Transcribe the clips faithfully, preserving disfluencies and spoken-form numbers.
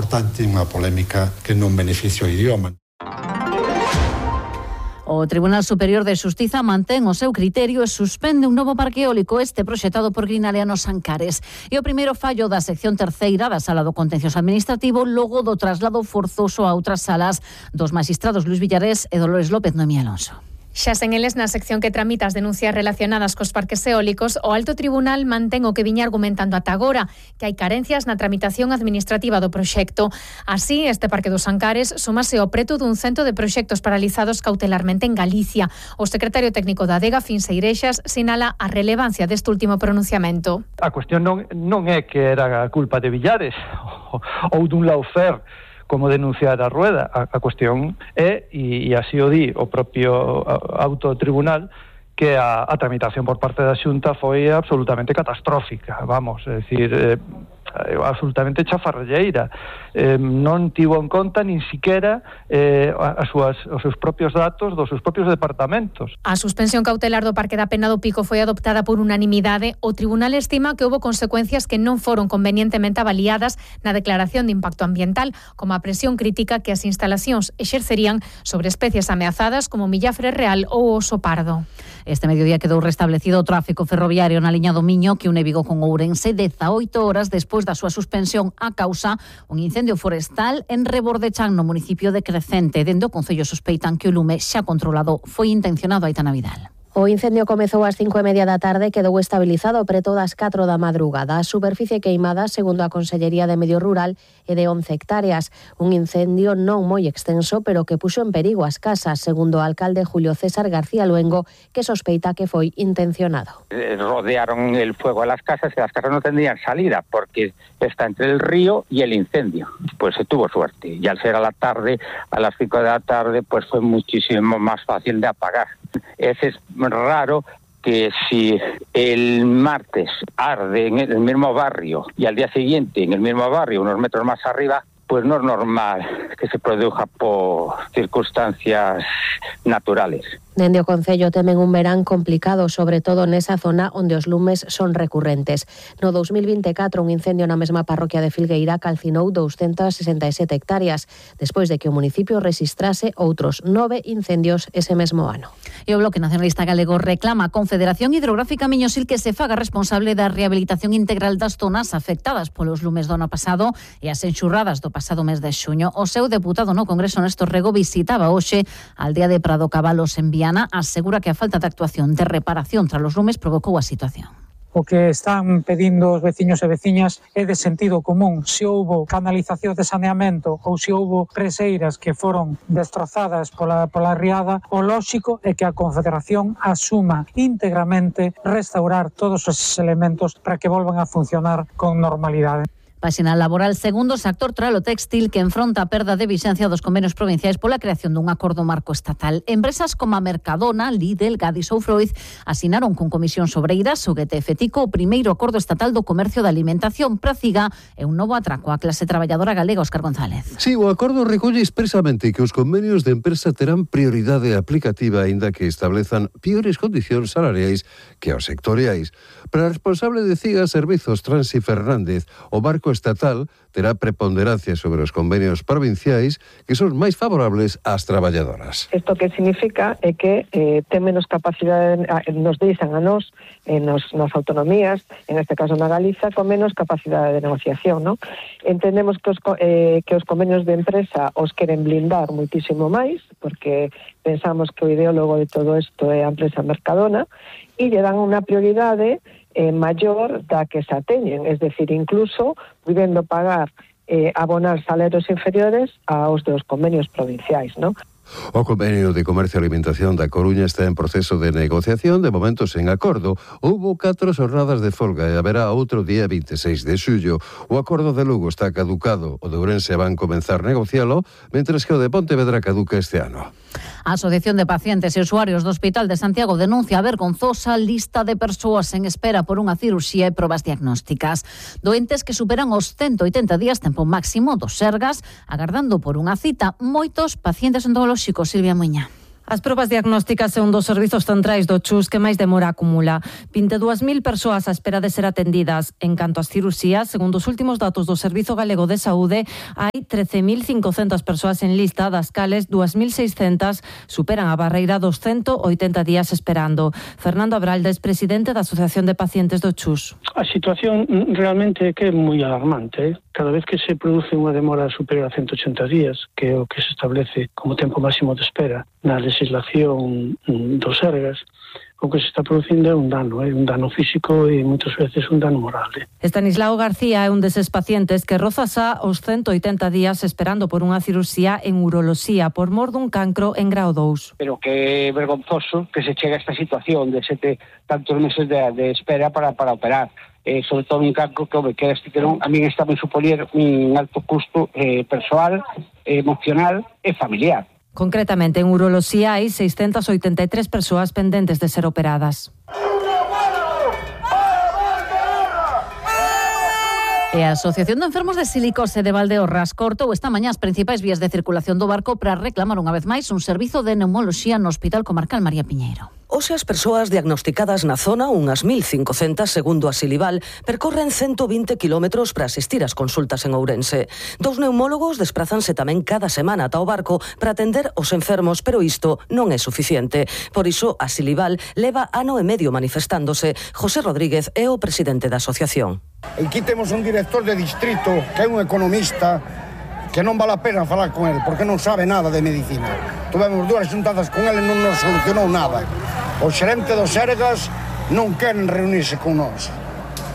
importante, unha polémica que non beneficia o idioma. O Tribunal Superior de Xustiza mantén o seu criterio e suspende un novo parque eólico, este proxectado por Greenalia nos Ancares. E o primeiro fallo da sección terceira da Sala do Contencioso Administrativo logo do traslado forzoso a outras salas dos magistrados Luis Villarés e Dolores López Noemí Alonso. Xa sen eles, na sección que tramita as denuncias relacionadas cos parques eólicos, o Alto Tribunal mantén o que viña argumentando ata agora, que hai carencias na tramitación administrativa do proxecto. Así, este Parque dos Ancares súmase ao preto dun cento de proxectos paralizados cautelarmente en Galicia. O secretario técnico da Adega, Fins Eirexas, sinala a relevancia deste último pronunciamento. A cuestión non, non é que era a culpa de Villares ou dun lawfare, como denunciar a Rueda. A, a cuestión é, e, e así o di o propio auto tribunal, que a, a tramitación por parte da Xunta foi absolutamente catastrófica, vamos, é dicir, eh, absolutamente chafarrelleira. Eh, non tivo en conta nin siquiera eh, as súas, os seus propios datos dos seus propios departamentos. A suspensión cautelar do Parque da Pena do Pico foi adoptada por unanimidade. O tribunal estima que houbo consecuencias que non foron convenientemente avaliadas na declaración de impacto ambiental, como a presión crítica que as instalacións exercerían sobre especies ameazadas como millafre real ou oso pardo. Este mediodía quedou restablecido o tráfico ferroviario na liña do Miño que une Vigo con Ourense dezaoito horas despois da súa suspensión a causa un incendio forestal en Rebordechán, no municipio de Crecente. Dende o Concello sospeitan que o lume xa controlado foi intencionado. Aitana Vidal. O incendio comezou ás cinco e media da tarde e quedou estabilizado preto das catro da madrugada. A superficie queimada, segundo a Consellería de Medio Rural, é de once hectáreas. Un incendio non moi extenso, pero que puxo en perigo as casas, segundo o alcalde Julio César García Luengo, que sospeita que foi intencionado. Rodearon el fuego a las casas y las casas no tendrían salida porque está entre el río y el incendio. Pues se tuvo suerte y al ser a la tarde, a las cinco de la tarde, pues fue muchísimo más fácil de apagar. Ese es raro que si el martes arde en el mismo barrio y al día siguiente en el mismo barrio, unos metros más arriba, pues no es normal que se produzca por circunstancias naturales. Dende o Concello temen un verán complicado, sobre todo nesa zona onde os lumes son recurrentes. No dous mil vinte e catro, un incendio na mesma parroquia de Filgueira calcinou doscientas sesenta e sete hectáreas, despois de que o municipio rexistrase outros nove incendios ese mesmo ano. E o Bloque Nacionalista Galego reclama a Confederación Hidrográfica Miñosil que se faga responsable da rehabilitación integral das zonas afectadas polos lumes do ano pasado e as enxurradas do pasado mes de xuño. O seu deputado no Congreso, Néstor Rego, visitaba hoxe a aldea de Prado Cabalos en Viana, asegura que a falta de actuación de reparación tras os lumes provocou a situación. O que están pedindo os veciños e veciñas é de sentido común. Se houbo canalización de saneamento ou se houbo preseiras que foron destrozadas pola, pola riada, o lóxico é que a Confederación asuma íntegramente restaurar todos esos elementos para que volvan a funcionar con normalidade. Páxina laboral, segundo o sector tralo-téxtil que enfronta a perda de vixencia dos convenios provinciais pola creación dun acordo marco estatal. Empresas como a Mercadona, Lidl, Gadis ou Freud asinaron con Comisións Obreiras o G T F Tico o primeiro acordo estatal do comercio da alimentación. Praciga é un novo atraco á clase traballadora galega. Óscar González. Sí, o acordo recolle expresamente que os convenios de empresa terán prioridade aplicativa aínda que establezan piores condicións salariais que os sectoriais. Para a responsable de CIGA Servizos, Transi Fernández, o barco estatal terá preponderancia sobre os convenios provinciais que son máis favorables ás traballadoras. Isto que significa é que eh, ten menos capacidade, nos deixan a nós, eh, nos, nas autonomías, en este caso na Galiza, con menos capacidade de negociación, ¿no? Entendemos que os, eh, que os convenios de empresa os queren blindar muitísimo máis, porque pensamos que o ideólogo de todo isto é a empresa Mercadona, e lle dan unha prioridade eh, maior da que se ateñen, es decir, incluso podendo pagar, eh, abonar salarios inferiores aos dos convenios provinciais, ¿no? O convenio de comercio e alimentación da Coruña está en proceso de negociación, de momento sen acordo. Houbo catro xornadas de folga e haberá outro día vinte e seis de xullo. O acordo de Lugo está caducado, o de Ourense van comenzar a negocialo, mentres que o de Pontevedra caduca este ano. A Asociación de Pacientes e Usuarios do Hospital de Santiago denuncia a vergonzosa lista de persoas en espera por unha cirurxía e probas diagnósticas. Doentes que superan os ciento oitenta días, tempo máximo dos Sergas, agardando por unha cita. Moitos pacientes odontolóxicos. Silvia Muiña. As probas diagnósticas é un dos servizos centrais do Chus que máis demora acumula. vinte e dúas mil persoas á espera de ser atendidas. En canto ás cirurxías, segundo os últimos datos do Servizo Galego de Saúde, hai trece mil cincocentas persoas en lista, das cales dúas mil seiscentas superan a barreira dos ciento oitenta días esperando. Fernando Abraldes, presidente da Asociación de Pacientes do Chus. A situación realmente é que é moi alarmante. Cada vez que se produce unha demora superior a ciento ochenta días, que é o que se establece como tempo máximo de espera na legislación dos Sergas, o que se está producindo é un dano, é un dano físico e moitas veces un dano moral. Estanislao García é un deses pacientes que roza xa os ciento oitenta días esperando por unha cirurxía en uroloxía por mor dun cancro en grao dous. Pero que é vergonzoso que se chegue a esta situación de sete tantos meses de, de espera para, para operar. Eh, sobre todo un cancro que, home, que este que non, a mí está en supoñer un alto custo eh, persoal, eh, emocional e familiar. Concretamente, en uroloxía hai seiscentas oitenta e tres persoas pendentes de ser operadas. E a Asociación de Enfermos de Silicose de Valdeorras cortou esta mañá as principais vías de circulación do barco para reclamar unha vez máis un servizo de neumoloxía no Hospital Comarcal María Piñeiro. Hoxe as persoas diagnosticadas na zona, unhas mil cincocentas segundo a Silival, percorren ciento vinte kilómetros para asistir ás consultas en Ourense. Dous neumólogos desprázanse tamén cada semana ata o barco para atender os enfermos, pero isto non é suficiente. Por iso, a Silival leva ano e medio manifestándose. José Rodríguez é o presidente da asociación. Aquí temos un director de distrito que é un economista que non vale a pena falar con ele porque non sabe nada de medicina. Tuvemos dúas xuntadas con ele e non nos solucionou nada. O xerente dos Sergas non queren reunirse con nós.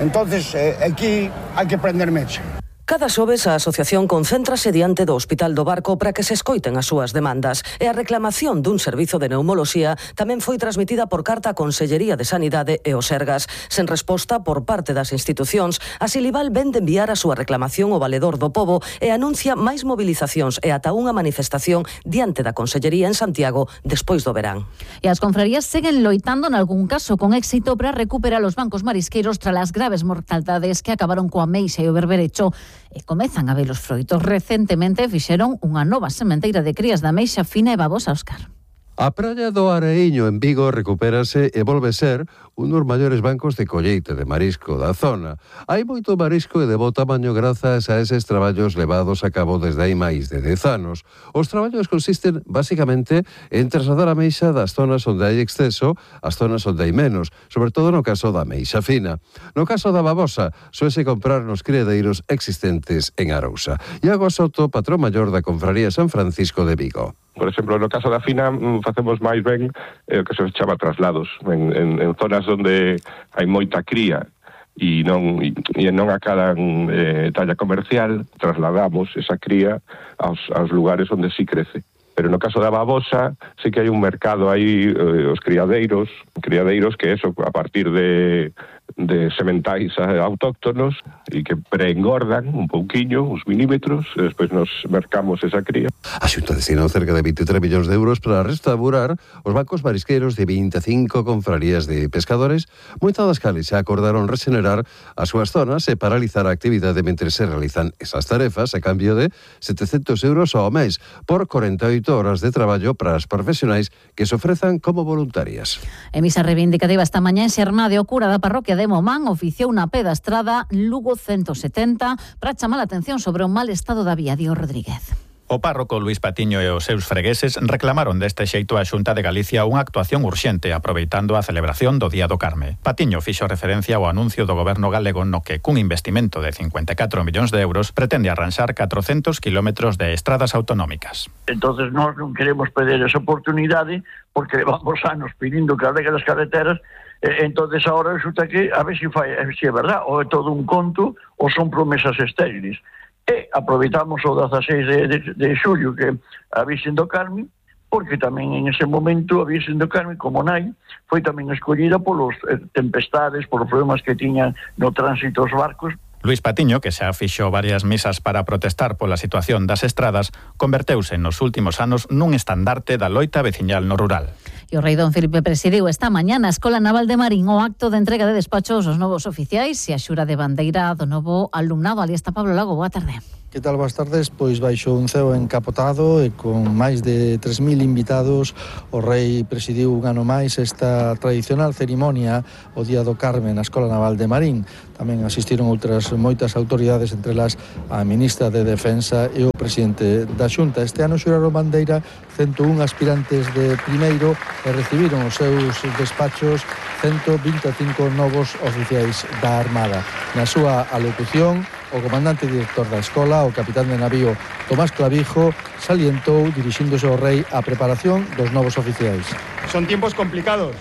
Entonces, eh, aquí hai que prender mecha. Cada xoves a asociación concéntrase diante do Hospital do Barco para que se escoiten as súas demandas e a reclamación dun servizo de neumoloxía tamén foi transmitida por carta á Consellería de Sanidade e os Sergas. Sen resposta por parte das institucións, a Silival ven de enviar a súa reclamación ao Valedor do Pobo e anuncia máis mobilizacións e ata unha manifestación diante da Consellería en Santiago despois do verán. E as confrarías seguen loitando en algún caso con éxito para recuperar os bancos marisqueiros tras as graves mortalidades que acabaron coa ameixa e o berberecho e comezan a ver os froitos. Recentemente fixeron unha nova sementeira de crías da ameixa fina e babosa, Óscar. A praia do Areiño en Vigo recupérase e volve ser un dos maiores bancos de colleite de marisco da zona. Hai moito marisco e de bo tamaño grazas a eses traballos levados a cabo desde hai máis de dez anos. Os traballos consisten basicamente en trasladar a ameixa das zonas onde hai exceso ás zonas onde hai menos, sobre todo no caso da ameixa fina. No caso da babosa, soese comprar nos criadeiros existentes en Arousa. Iago Soto, patrón maior da Confraría San Francisco de Vigo. Por exemplo, no caso da fina facemos máis ben o eh, que se chama traslados en, en, en zonas onde hai moita cría e non, e, e non acadan eh, talla comercial, trasladamos esa cría aos, aos lugares onde sí crece. Pero no caso da babosa sí que hai un mercado aí, eh, os criadeiros, criadeiros que eso, a partir de, de sementais autóctonos e que preengordan un pouquiño, uns milímetros, e despois nos mercamos esa cría. A Xunta destinou cerca de vinte e tres millóns de euros para restaurar os bancos marisqueiros de vinte e cinco confrarías de pescadores, moitas das cales xa acordaron regenerar as súas zonas e paralizar a actividade mentre se realizan esas tarefas a cambio de setecentos euros ao mes por corenta e oito horas de traballo para as profesionais que se ofrezan como voluntarias. En misa reivindicativa esta mañá en Xermade, o cura da parroquia de Momán oficiou unha pedastrada Lugo ciento setenta para chamar a atención sobre o mal estado da vía. Dio Rodríguez. O párroco Luís Patiño e os seus fregueses reclamaron deste xeito a Xunta de Galicia unha actuación urxente aproveitando a celebración do Día do Carme. Patiño fixo referencia ao anuncio do goberno galego no que cun investimento de cincuenta e catro millóns de euros pretende arranxar catrocentos kilómetros de estradas autonómicas. Entonces nós non queremos perder esa oportunidade porque levamos anos pedindo que arregle as carreteras. Entonces ahora resulta que a ver se fai, se é verdad, ou é todo un conto ou son promesas estériles. E aproveitamos o dezaseis de, de, de xullo que a Virxen do Carme, porque tamén en ese momento a Virxen do Carme, como nai, foi tamén escollida polos tempestades, polos problemas que tiñan no tránsito os barcos. Luís Patiño, que xa fixo varias misas para protestar pola situación das estradas, converteuse nos últimos anos nun estandarte da loita veciñal no rural. E o rei Don Felipe presidiu esta mañá na Escola Naval de Marín o acto de entrega de despachos aos novos oficiais e a xura de bandeira do novo alumnado. Ali está Pablo Lago, boa tarde. Que tal, boas tardes? Pois baixo un ceo encapotado e con máis de tres mil invitados, o rei presidiu un ano máis esta tradicional cerimonia o Día do Carme na Escola Naval de Marín. Tamén asistiron outras moitas autoridades, entre elas a ministra de Defensa e o presidente da Xunta. Este ano xuraron bandeira ciento un aspirantes de primeiro e recibiron os seus despachos ciento vinte e cinco novos oficiais da Armada. Na súa alocución, o comandante director da escola, o capitán de navío Tomás Clavijo, salientou, dirixíndose ao rei, a preparación dos novos oficiais. Son tiempos complicados,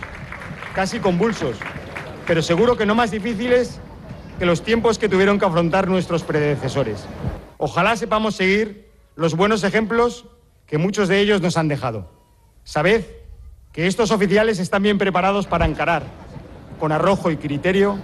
casi convulsos, pero seguro que no más difíciles que los tiempos que tuvieron que afrontar nuestros predecesores. Ojalá sepamos seguir los buenos ejemplos que muchos de ellos nos han dejado. Sabed que estos oficiales están bien preparados para encarar, con arrojo y criterio,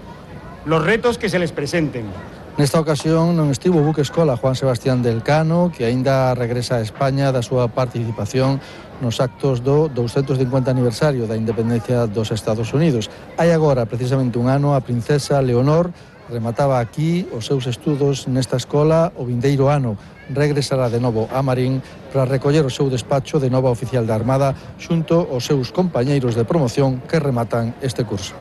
los retos que se les presenten. Nesta ocasión non estivo o buque escola Juan Sebastián del Cano, que aínda regresa a España da súa participación nos actos do doscientos cincuenta aniversario da independencia dos Estados Unidos. Hai agora precisamente un ano a princesa Leonor remataba aquí os seus estudos nesta escola. O vindeiro ano regresará de novo a Marín para recoller o seu despacho de nova oficial da Armada xunto aos seus compañeiros de promoción que rematan este curso.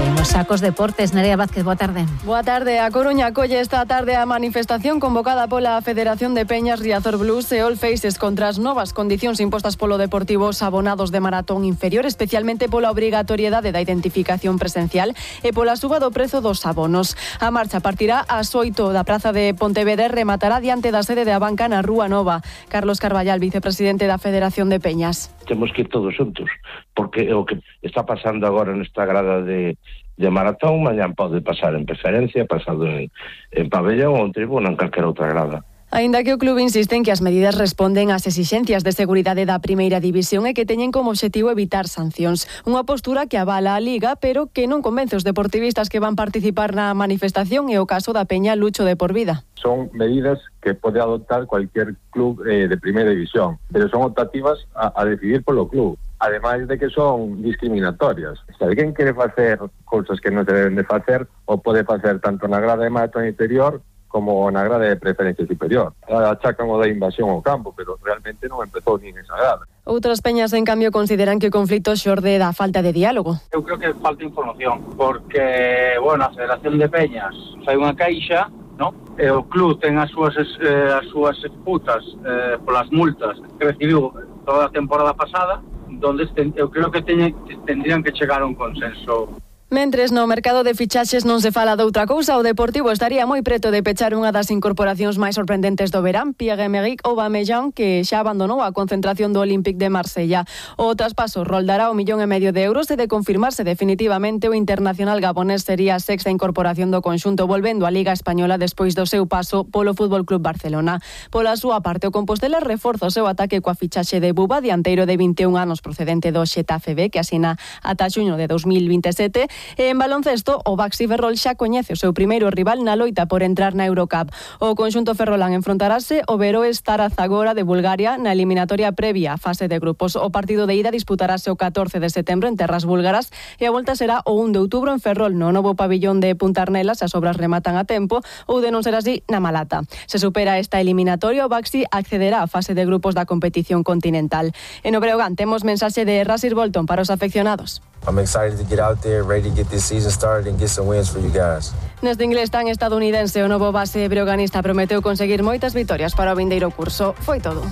En los sacos deportes, Nerea Vázquez, boa tarde. Boa tarde. A Coruña acolle esta tarde a manifestación convocada pola Federación de Peñas Riazor Blues e All Faces contra as novas condicións impostas polo Deportivo aos abonados de maratón inferior, especialmente pola obrigatoriedade da identificación presencial e pola suba do prezo dos abonos. A marcha partirá ás oito da Praza de Pontevedra e rematará diante da sede de Abanca na Rúa Nova. Carlos Carballal, vicepresidente da Federación de Peñas. Temos que ir todos xuntos, porque o que está pasando agora nesta grada de, de maratón, mañán pode pasar en preferencia, pasado en, en pabellón ou en tribuna, en calquera outra grada. Aínda que o club insiste en que as medidas responden ás exixencias de seguridade da primeira división e que teñen como obxectivo evitar sancións. Unha postura que avala a Liga, pero que non convence os deportivistas que van participar na manifestación, e o caso da Peña Lucho de por vida. Son medidas que pode adoptar cualquier club eh, de primeira división, pero son optativas a, a decidir polo club. Ademais de que son discriminatorias. Se alguén quere facer cousas que non se deben de facer, o pode facer tanto na grada de maratón interior como na grada de preferencia superior. Achacan o da invasión ao campo, pero realmente non empezou nin esa grada. Outras peñas, en cambio, consideran que o conflito xorde da falta de diálogo. Eu creo que falta información, porque, bueno, a Federación de Peñas fai unha caixa, ¿no? E o club ten as súas eh, as súas disputas eh, polas multas que recibiu toda a temporada pasada, donde eu creo que teñen, tendrían que chegar a un consenso. Mentres no mercado de fichaxes non se fala doutra cousa, o Deportivo estaría moi preto de pechar unha das incorporacións máis sorprendentes do verán, Pierre-Emerick Aubameyang, que xa abandonou a concentración do Olympique de Marsella. O traspaso roldará o millón e medio de euros e de confirmarse definitivamente o internacional gabonés sería a sexta incorporación do conxunto, volvendo á Liga Española despois do seu paso polo Fútbol Club Barcelona. Pola súa parte, o Compostela reforza o seu ataque coa fichaxe de Buba, dianteiro de vinte e un anos procedente do Xetafe B, que asina ata xuño de dos mil vinte e sete. E en baloncesto, o Baxi Ferrol xa coñece o seu primeiro rival na loita por entrar na Eurocup. O conxunto ferrolán enfrontarase o Veroes Tarazagora de Bulgaria na eliminatoria previa á fase de grupos. O partido de ida disputarase o catorce de setembro en terras búlgaras e a volta será o un de outubro en Ferrol, no novo pabillón de Punta Arnelas, se as obras rematan a tempo, ou de non ser así, na Malata. Se supera esta eliminatoria, o Baxi accederá á fase de grupos da competición continental. En o Breogán temos mensaxe de Rasir Bolton para os afeccionados. I'm excited to get out there, ready to get this season started and get some wins for you guys. Neste inglés tan estadounidense, o novo base breoganista prometeu conseguir moitas vitorias para o vindeiro curso. Foi todo.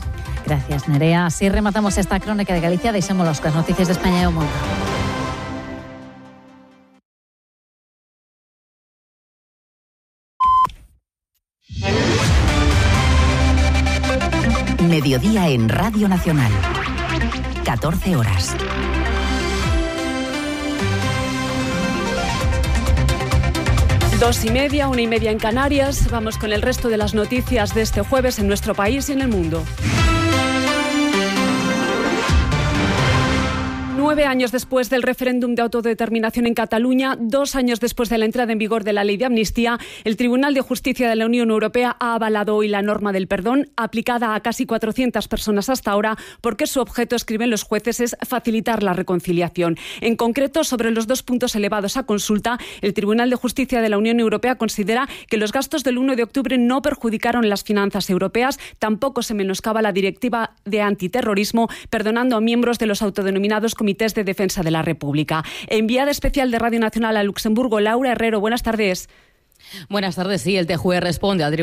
Gracias, Nerea. Así rematamos esta crónica de Galicia. Deixémolos cas noticias de España e o mundo. Mediodía en Radio Nacional. catorce horas. Dos y media, una y media en Canarias. Vamos con el resto de las noticias de este jueves en nuestro país y en el mundo. Nueve años después del referéndum de autodeterminación en Cataluña, dos años después de la entrada en vigor de la ley de amnistía, el Tribunal de Justicia de la Unión Europea ha avalado hoy la norma del perdón, aplicada a casi cuatrocientas personas hasta ahora, porque su objeto, escriben los jueces, es facilitar la reconciliación. En concreto, sobre los dos puntos elevados a consulta, el Tribunal de Justicia de la Unión Europea considera que los gastos del uno de octubre no perjudicaron las finanzas europeas, tampoco se menoscaba la directiva de antiterrorismo, perdonando a miembros de los autodenominados comités de defensa de la República. Enviada especial de Radio Nacional a Luxemburgo, Laura Herrero, buenas tardes. Buenas tardes. Sí, el T J U E responde al Tribunal